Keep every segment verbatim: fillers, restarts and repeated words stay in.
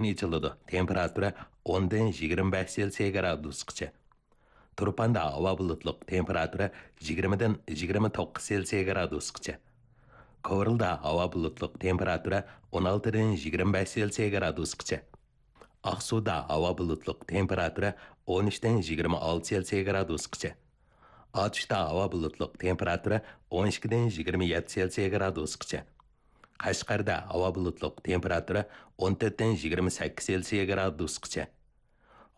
ئېچىلىدۇ، تېمپېراتۇرا ئوندىن يىگىرمە بەش سېلسىيە گرادۇسقىچە. تۇرپاندا ھاۋا بۇلۇتلۇق، تېمپېراتۇرا يىگىرمىدىن يىگىرمە توققۇز سېلسىيە گرادۇسقىچە. كورلىدا ھاۋا بۇلۇتلۇق، تېمپېراتۇرا ئون ئالتىدىن يىگىرمە بەش سېلسىيە گرادۇسقىچە. ئاقسۇدا ھاۋا بۇلۇتلۇق، تېمپېراتۇرا ئون ئۈچتىن يىگىرمە ئالتە سېلسىيە گرادۇسقىچە. ئاتۇشتا ھاۋا بۇلۇتلۇق، تېمپېراتۇرا ئون ئىككىدىن يىگىرمە يەتتە سېلسىيە گرادۇسقىچە. قەشقەردە ھاۋا بۇلۇتلۇق، تېمپېراتۇرا ئون تۆتتىن يىگىرمە سەككىز سېلسىيە گرادۇسقىچە.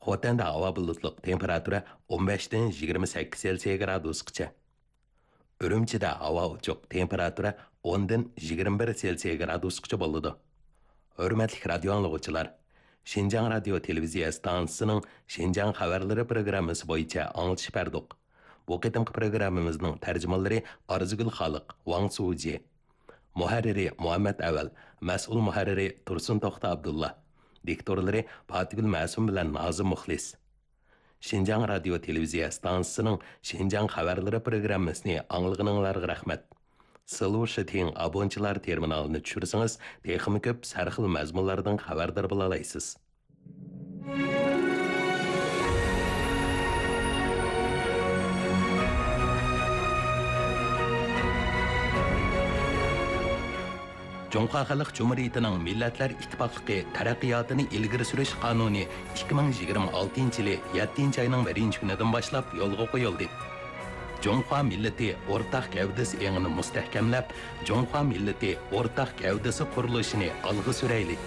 خوتەندە ھاۋا بۇلۇتلۇق، تېمپېراتۇرا ئون بەشتىن يىگىرمە سەككىز سېلسىيە گرادۇسقىچە. ئۈرۈمچىدە ھاۋا ئوچۇق، تېمپېراتۇرا ئوندىن يىگىرمە بىر سېلسىيە گرادۇسقىچە بولىدۇ. ھۆرمەتلىك رادىيو ئاڭلىغۇچىلار، شىنجاڭ رادىيو تېلېۋىزىيە ئىستانسىسىنىڭ شىنجاڭ خەۋەرلىرى پروگراممىسى بويىچە ئاڭلىتىش بەردۇق. بۇ قېتىمقى پروگراممىمىزنىڭ تەرجىمانلىرى ئارزۇگۈل خالىق، ۋاڭ سۇجى. مۇھەررىرى مۇھەممەت ئەۋەل، مەسئۇل مۇھەررىرى تۇرسۇن توختى ئابدۇللا، دىكتورلىرى پاتىگۈل مەسۇم بىلەن نازىم مۇخلىس. شىنجاڭ رادىيو تېلېۋىزىيە ئىستانسىسىنىڭ شىنجاڭ خەۋەرلىرى پروگراممىسىنى ئاڭلىغىنىڭلارغا رەھمەت. سىلۋۇ شىتىڭ ئابونچىلار تېرمىنالىنى چۈشۈرسىڭىز، تېخىمۇ كۆپ سەرخىل مەزمۇنلاردىن خەۋەردار بولالايسىز. جۇڭخۇا خەلق جۇمھۇرىيىتىنىڭ مىللەتلەر ئىتتىپاقلىقى تەرەققىياتىنى ئىلگىرى سۈرۈش قانۇنى ئىككى مىڭ يىگىرمە ئالتىنچى يىلى يەتتىنچى ئاينىڭ بىرىنچى كۈنىدىن باشلاپ يولغا قويۇلدى. جۇڭخۇا مىللىتى ئورتاق گەۋدىسى ئېڭىنى مۇستەھكەملەپ، جۇڭخۇا مىللىتى ئورتاق گەۋدىسى قۇرۇلۇشىنى ئالغا سۈرەيلى!